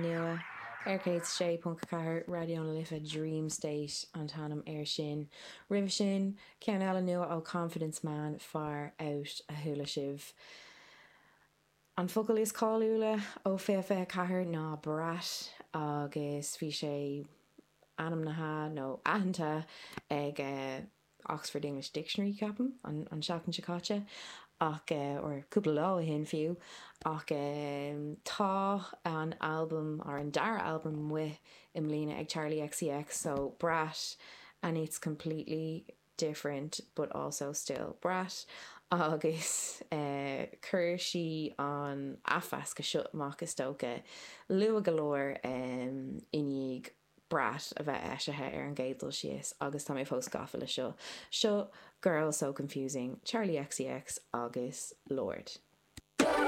Nua ar 106.4 Raidió na Life Dream State an t-ainm air sin. Roimhe sin, ceann eile nua ó Confidence Man, Far Out a chuala sibh. An focal is cáiliúla ó 2024 ná brat agus bhí sé ainmnithe nó aitheanta ag Oxford English Dictionary, ceapaim, an tseachtain seo caite, ach, or cúpla lá ó shin fiú, ach tá an albam, or an dara albam amuigh i mbliana ag Charli XCX, so Brat and it's completely different but also still Brat agus chuir sí an athmheascadh seo amach is dócha luath go leor i ndiaidh Brat a bheith eisithe ar an gcéad dul síos agus tá mé fós gafa le seo. Seo Girl So Confusing, Charli XCX agus Lorde.